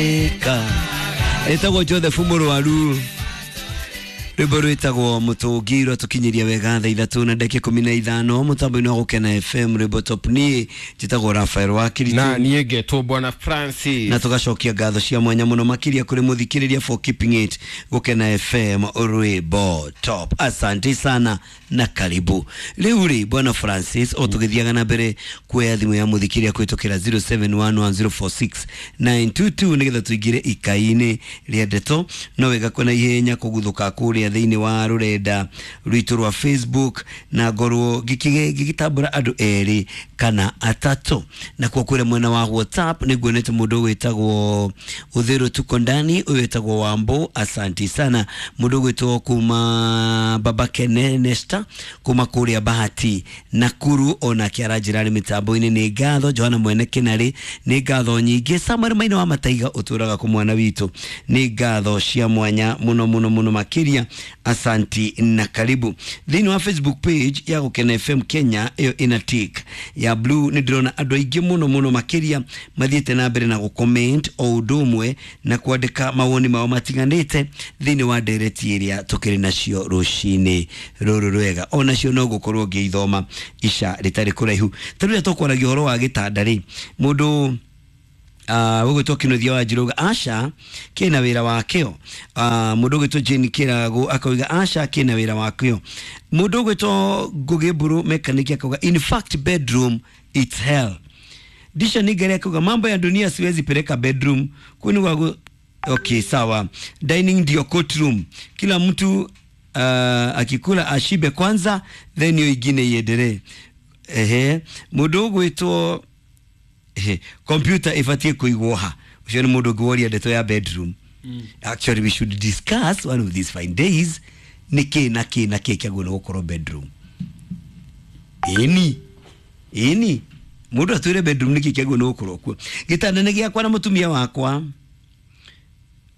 Ka etagwo Joseph Mũrwaru, rwĩmbo rwĩtagwo Mũtũngi, rwatũkinyĩria wega 3:15 mũtambo-inĩ wa Gũkena FM, rwĩmbo top. Niĩ njĩtagwo Rafael wa Kiritu. Na niĩ ngetwo Bwana Francis. Na tũgacokia ngatho cia mwanya mũno makĩria kũrĩ mũthikĩrĩria for keeping it Gũkena FM, rwĩmbo top. Asante sana na karibu. Rĩu rĩ, Bwana Francis, o tũgĩthiaga na mbere kuoya thimũ ya mũthikĩrĩria kũhĩtũkĩra 0711046922 nĩgetha tũingĩre ikai-inĩ rĩa ndeto, no wega kwena ihenya kũguthũka kũrĩa thĩinĩ wa rũrenda rwitũ rwa Facebook na ngorwo ngĩgĩtambũra andũ erĩ kana atatũ. Nakuo kũrĩa mwena wa WhatsApp nĩ nguonete mũndũ wĩtagwo Ũthĩrũ tuko ndani, ũyũ wĩtagwo Wambo, asanti sana. Mũndũ ũgwĩtwo kuma Baba Kene Nesta kuma kũrĩa Bahati Nakuru, onake aranjĩra arĩ mĩtambo-inĩ, nĩ ngatho. Johana Mwene Kĩnarĩ, nĩ ngatho nyingĩ. Samuel Maina wa Mataiga ũtũraga kũ mwana witũ, nĩ ngatho cia mwanya mũno mũno mũno makĩria, asanti na karibu. Thĩinĩ wa Facebook page ya Gũkena FM Kenya, ĩyo ĩna tick ya blue, nĩ ndĩrona andũ aingĩ mũno mũno makĩria mathiĩte na mbere na gũcomment o ũndũ ũmwe na kwandĩka mawoni mao matiganĩte thĩinĩ wa ndereti ĩrĩa tũkĩrĩ nacio rũcinĩ rũrũ rwega. Onacio no ngũkorwo ngĩithoma ica rĩtarĩ kũraihu. Ta rĩrĩa tũkwaragia ũhoro wa gĩtanda rĩ, mũndũ ũgwĩtwo Kĩnuthia wa Njirũga, aca kĩna wĩra wakĩo. Mũndũ ũgwĩtwo Jane Kĩrago akauga aca kĩna wĩra wakĩo. Mũndũ ũgwĩtwo Ngũgĩ Mburu Mechanic akauga in fact bedroom it's hell. Disha Nigeri akauga mambo ya dunia siwezi peleka bedroom kwani wago. Okay, sawa. Dining ndio courtroom, kila mtu akikula ashibe kwanza, then hiyo ingine iendelee. Ehe, mũndũ ũgwĩtwo ehe, computer ibatie kũigwo ha? Ũcio nĩ mũndũ ũngĩ woria ndeto ya bedroom. Actually, we should discuss one of these fine days nĩ kĩ na kĩ na kĩ kĩagĩrĩirwo nĩ gũkorwo bedroom. Ĩni ĩni, mũndũ atwĩre bedroom nĩ kĩ kĩagĩrĩirwo nĩ gũkorwo kuo. Gĩtanda nĩ gĩakwa na mũtumia wakwa,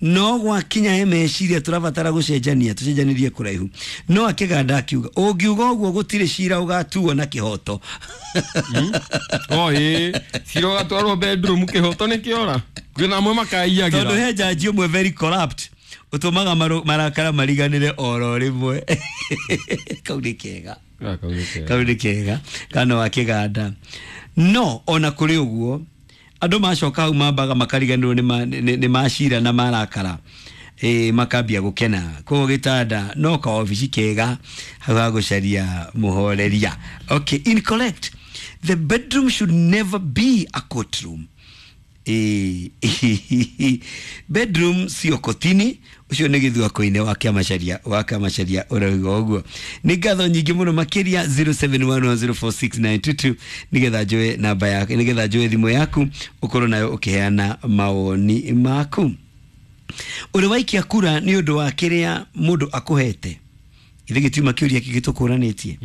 no gwakinya he meciria tũrabatara gũcenjania, tũcenjanĩrie kũraihu. No akĩganda akiuga ũngiuga ũguo gũtirĩ cira ũgatuo na kĩhoto. O ĩ cira ũgatwarwo bedroom, kĩhoto nĩ kĩora, kwĩna amwe tondũ makaiyagĩra. He jaji ũmwe very corrupt ũtũmaga marakara mariganĩre oro rĩmwe. Kau nĩ kega. Ah, kau nĩ kega. Kau nĩ kega kana wa kĩganda. No ona kũrĩ ũguo, andũ macoka hau mambaga makariganĩrwo nĩ macira na marakara, ĩ makambia gũkena. Koguo gĩtanda no kaobici kega hau ha gũcaria mũhoreria. Okay, incorrect, the bedroom should never be a courtroom. Bedroom sio kotini. Ũcio nĩ gĩthua-inĩ wa kĩamacaria wa kĩamacaria ũrauga ũguo. Nĩ ngatho nyingĩ mũno makĩria. 0711046922 nĩgetha njoe namba yaku, nĩgetha njoe thimũ yaku ũkorwo nayo ũkĩheana mawoni maku. Ũrĩ waikia kura nĩ ũndũ wa kĩrĩa mũndũ akũhete? Ithe gĩtiuma kĩũria kĩngĩ tũkũranĩtie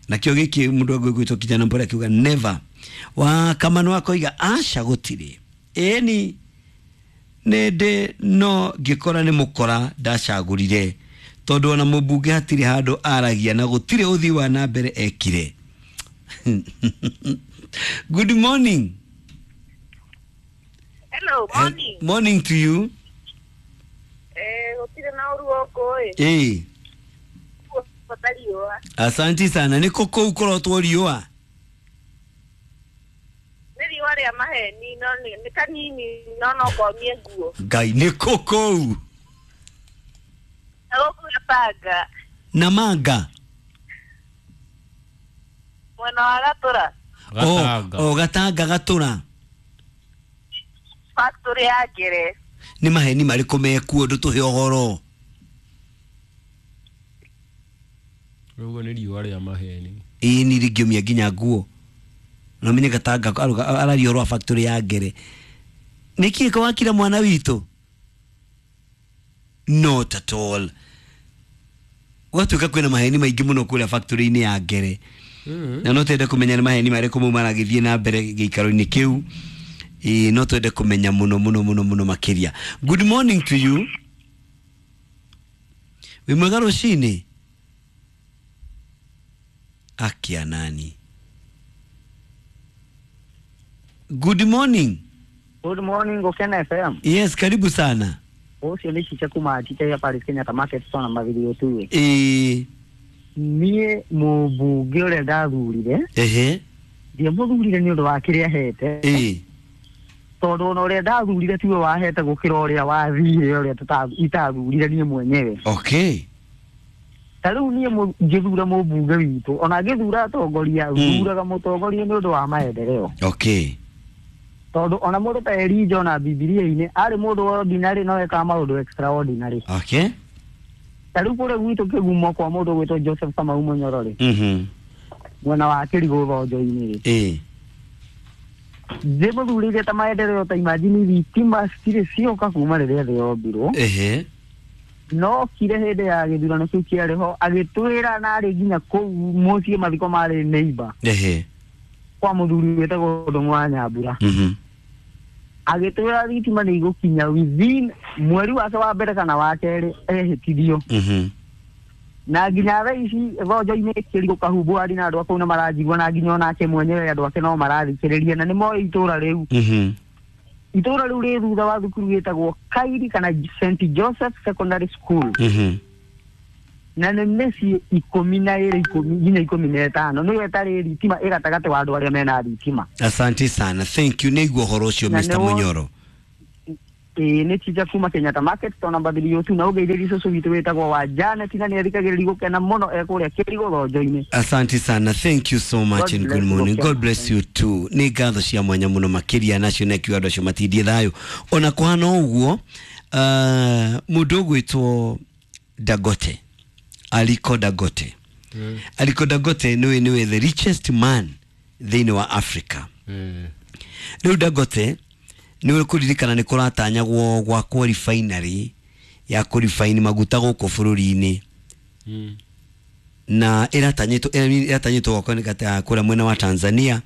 nakĩo gĩkĩ. Mũndũ agwĩtwo kijana mbora akiuga never. Wa Kamano akoiga aca gũtirĩ, ĩni nĩ ndĩ no ngĩkora nĩ mũkora ndacagũrire, tondũ ona mũmbunge hatirĩ handũ aragia na gũtirĩ ũthii wa na mbere ekire. Good morning. Hello, morning. Morning to you. Gũtirĩ na ũru gũkũ ĩ. Ĩĩ. Bata riũa. Asanti sana. Nĩ kũ kũu kũrotwo riũa? Nĩ riũa rĩa maheni, no nĩ kanini, no ngomie nguo. Ngai, nĩ kũ kũu? Na gũkũ Gatanga. Na manga. Mwena wa Gatũra. Gatanga. O Gatanga Gatũra. Factory ya Ngere. Nĩ maheni marĩkũ mekuo? Ndũtũhe ũhoro. Ũguo nĩ riũa rĩa maheni. Ĩĩ, ni rĩngĩũmia nginya nguo. No menye Gatanga araria ũhoro wa factory ya Ngere. Nĩkĩ kawakira mwana witũ? Not at all. Gwatuĩka kwĩna maheni maingĩ mũno kũrĩa factory-inĩ ya Ngere, na no twende kũmenya nĩ maheni marĩkũ mau maragĩthiĩ na mbere gĩikaro-inĩ kĩu. Ĩĩ, no twende kũmenya mũno mũno mũno mũno makĩria. Good morning to you. Wĩ mwega rũcinĩ? Akia nani. Good morning. Good morning Gokena FM. Yes, karibu sana. Ũcio nĩ Cice kuma Chiche ya Paris Kenyatta Market Store namba 3. Ĩĩ. Niĩ mũmbunge ũrĩa ndathurire Ehe. ndiamũthurire nĩ ũndũ wa kĩrĩa ahete Ĩĩ. tondũ ona ũrĩa ndathurire tiwe wahete gũkĩra ũrĩa wathire ũrĩa itathurire niĩ mwenyewe. Okay. Ta rĩu niĩ ngĩthura mũmbunge witũ ona ngĩthura atongoria thuraga mũtongoria nĩ ũndũ wa maendeleo. Okay. Tondũ ona mũndũ ta Elijah ona Bibilia-inĩ arĩ mũndũ ordinary no ekaga maũndũ extraordinary. Okay. Ta rĩu kũrĩa gwitũ kĩgumo kwa mũndũ ũgwĩtwo Joseph Kamau Mũnyoro rĩ, Mhm. mwena wa Kĩrigũ Thonjo-inĩ rĩ, Ĩĩ. ndĩmũthurĩire ta maendeleo ta imagine thitima citirĩ cioka kuma rĩrĩa thĩ yombirwo. Ehe. No kire hĩndĩ ya gĩthurano kĩu kĩarĩ ho agĩtwĩra na arĩ nginya kũu mũciĩ mathiko marĩ neighbor Ehe. kwa mũthuri wĩtagwo Ndũng'ũ wa Nyambura. Mhm. Agĩtwĩra thitima nĩ igũkinya within mweri wake wa mbere kana wa kerĩ ehĩtithio. Mhm. Na nginya thaa ici Thonjo-inĩ Kĩrigũ Kahumbũ ari na andũ a kũu nĩ maranjigua na nginya onake mwenyewe andũ ake no marathikĩrĩria na nĩ moĩ itũra rĩu. Mhm. Itũra rĩu rĩ thutha wa thukuru gĩtagwo Kairi kana St Joseph Secondary School. Mhm. Na nĩ mĩciĩ 12 10 nginya 15 nĩyo ĩtarĩ thitima ĩ gatagatĩ wa andũ arĩa mena thitima. Asante sana. Thank you. Nĩigua ũhoro ũcio Na Mr. nĩwo- Munyoro. Ĩĩ nĩ Chicha kuma Kenyatta Market to namba 3 na ũngeithĩrie cũcũ witũ wĩtagwo wa Janet na nĩ athikagĩrĩria gũkena mũno e kũrĩa Kĩrigũ Thonjo-inĩ. Asante sana. Thank you so much God and bless good morning. you. God bless you too. Nĩ ngatho cia mwanya mũno makĩria nacio na kiu andũ acio matindie thayũ. Ona kũhana ũguo, mũndũ ũgwĩtwo Dangote, Aliko Dangote. Aliko Dangote nĩwe the richest man thĩinĩ wa Africa. Rĩu Dangote nĩ kũririkana nĩ kũratanyagwo gwakwo refinery ya kũrefine maguta gũkũ bũrũri-inĩ na ĩratanyĩtwo gwakwo nĩ gata kũrĩa mwena wa Tanzania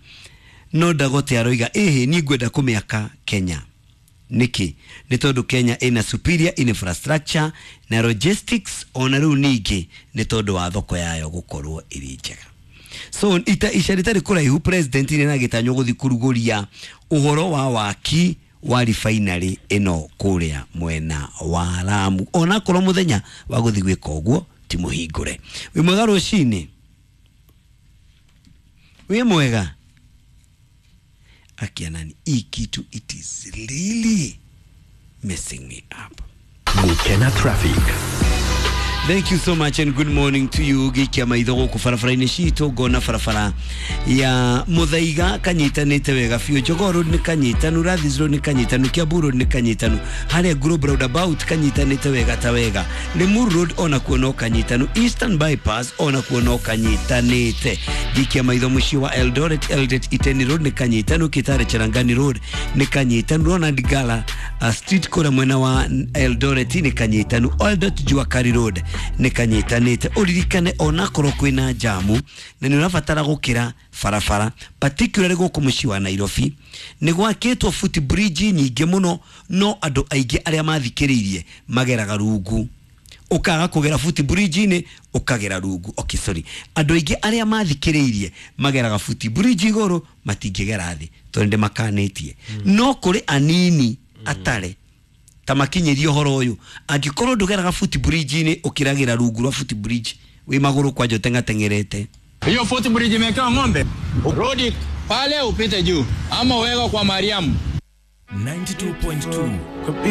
no Dangote aroiga ĩhĩ niĩ ngwenda kũmĩaka Kenya. Nĩkĩ? Nĩ tondũ Kenya ĩna superior infrastructure na logistics ona rĩu ningĩ nĩ tondũ wa thoko yayo gũkorwo ĩrĩ njega. So ica rĩtarĩ kũraihu president nĩ aragĩtanywo gũthiĩ kũrugũria ũhoro wa waki wa refinery ĩno kũrĩa mwena wa Lamu onakorwo mũthenya wa gũthiĩ gwĩka ũguo ti mũhingũre. Wĩ mwega rũcinĩ? Wĩ mwega? Akianani, hii kitu it is really messing me up. Gukena Traffic. Thank you so much and good morning to you. Gikia maitho gũkũ barabara-inĩ citũ ngona barabara ya Muthaiga kanyitanĩte wega biũ. Jogoo Road nĩ kanyitanu, Rathis Road nĩ kanyitanu, Kiambu Road nĩ kanyitanu, harĩa Global Roundabout kanyitanĩte wega ta wega, Limuru Road onakuo no kanyitanu, Eastern Bypass onakuo no kanyitanĩte. Gikia maitho mũciĩ wa Eldoret, Eldoret Iten Road nĩ kanyitanu, Kitale Cherangani Road nĩ kanyitanu, Ronald Gala Street kũrĩa mwena wa Eldoret nĩ kanyitanu, Eldoret Jua Kali Road nĩ kanyitanĩte. Ũririkane onakorwo kwĩna jamu na nĩ ũrabatara gũkĩra barabara particularly gũkũ mũciĩ wa Nairobi nĩ gwakĩtwo foot bridge nyingĩ mũno no andũ aingĩ arĩa mathikĩrĩirie mageraga rungu ũkaga kũgera foot bridge-inĩ ũkagera rungu. Okay, sorry, andũ aingĩ arĩa mathikĩrĩirie mageraga foot bridge igũrũ matingĩgera thĩ tondũ nĩ makanĩtie. No kũrĩ anini atare ta makinyĩrie ũhoro ũyũ angĩkorwo ndũgeraga foot bridge-inĩ ũkĩragĩra rungu rwa foot bridge wĩ magũrũ kwanja ũteng'ateng'erete. Hiyo foot bridge imewekewa ng'ombe, rudi pale upite juu ama uwekwe kwa Mariamu. 92.2.